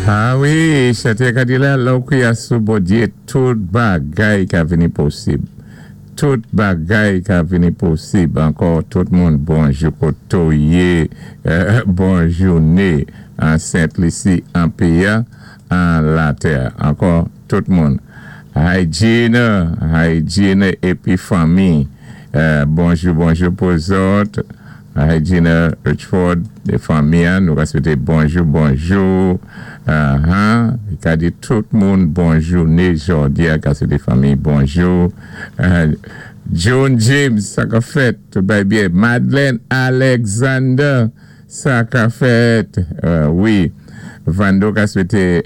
A wi, chanté ka di la, lè ou kwiyé sou Bondyé, tout bagay ka vini posib. Tout bagay ka vini posib. Ankò, tout moun, bonjou koto yé, bon jouné an Sent Lisi, an péyi, an latè. Ankò, tout moun. Hi Gina, hi Gina épi fanmi. Bonjou, bonjou pou zòt. Hi Gina Richford é fanmi, nou ka swété bonjou, bonjou. Ka di tout moun bon jouné jòdi a, ka swété fanmi bonjou. John James, sa ka fèt, tout bay byen. Madeleine Alexander, sa ka fèt. Wi. Vando ka swété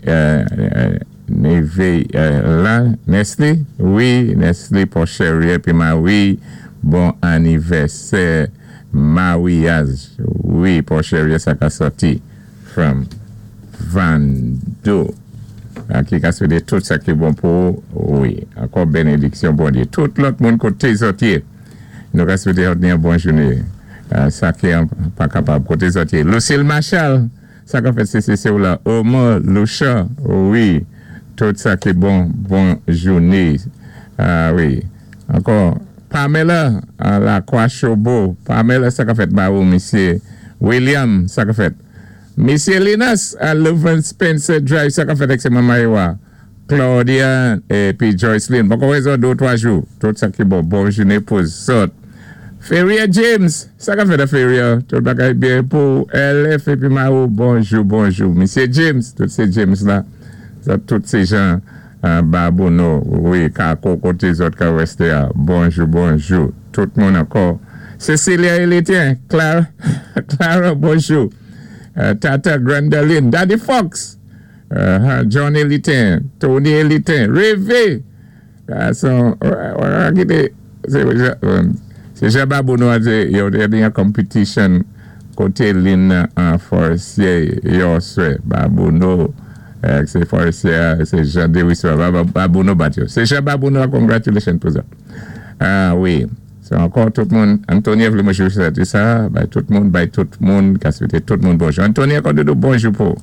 neve la, Nesli. Wi, Nesli Porcherie épi Marie, bon anivèsè maryaj. Wi, Porcherie, sa ka sòti from Vando. Ki ka swété tout sa ki bon pou wi. Ankò bénédiksyon Bondyé. Tout lòt moun koté zòt yé. Nou ka swété yon bon jouné. Sa ki pa kapab koté zòt yé. Lucille Marshall, sa ka fèt CCC ou la. Omar Loucha, wi. Tout sa ki bon, bon jouné. A wi. Ankò Pamela la Croix Chobo. Pamela, sa ka fèt ba ou, misyé William, sa ka fèt. Misyé Linus a Leuven Spencer Drive, sa ka fèt ak sé manman Ewa. Claudia épi Joyceline. Bon, kon de ou twa jou. Tout sa ki bon. Bon jouné pou zòt. Feria James, sa ka fèt a Feria. Tout bagay byen pou LF épi Marou. Bonjou, bonjou. Misyé James, tout sé James la. Sa, tout sé jan Babouno, wi, Kako koté zòt ka résté a. Bonjou, bonjou. Tout moun ankò. Cecilia Elitien, Clara, Clara, bonjou. Tata Grandaline, Daddy Fox, John Elitin, Tony Elitin, Reve. Son, sé jan Babouno a di, yo té gen yon competition koté lin an Forestier yo swè. Babouno, sé Forestier, sé Jean Dewis, Babouno bat yo. Sé jan Babouno, congratulations pou sa. A wi. Sé ankò tout moun, Antonia vlé mwen swété sa, bay tout moun, bay tout moun, ka swété tout moun bonjou. Antonia, kon doudou bonjou pou.